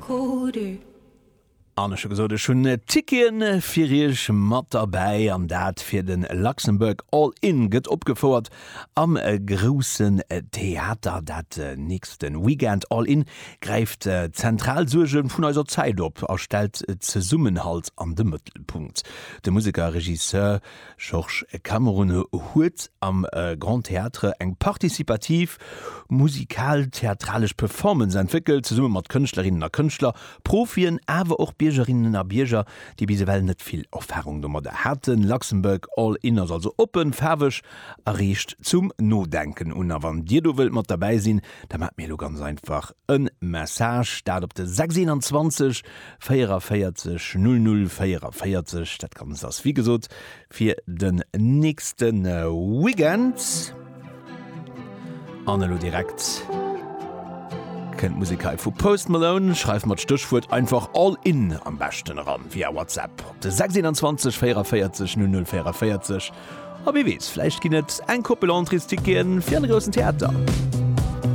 colder. An ech hu gesot, ech hunn Ticketen fir iech mat derbäi, an dat fir de Luxembourg All In gëtt opgefouert am Groussen Theater dat nächste Weekend. All In gräift zentral Suerge vun eiser Zäit op a stellt Zesummenhalt an de Mëttelpunkt. De Museker a Regisseur Georges Cameron huet am Grand Théâtre eng participativ musikal-theatralesch Performance entwéckelt, zesumme mat Kënschtlerinnen a Kënschtler, Profien, awer och Biergerinnen a Bierger, déi bis ewell net vill Erfarung domadder haten. Luxembourg All In ass also oppen, faarweg a reegt zum Nodenken un. A wann Dir do wëllt mat derbäi sinn, da maacht mir elo ganz einfach e Message, dat op de 621 44 00 44. Dat Ganzt ass wéi gesot fir den nächste Weekend. An elo direkt kënnt d'Musek hei vu Post Malone. Schreif mer d'Stéchwuert einfach All In am beschten eran via WhatsApp op de 621 44 00 44. A wie weess, vläicht ginn et eng Koppel Entréesticketen fir an de Groussen Theater.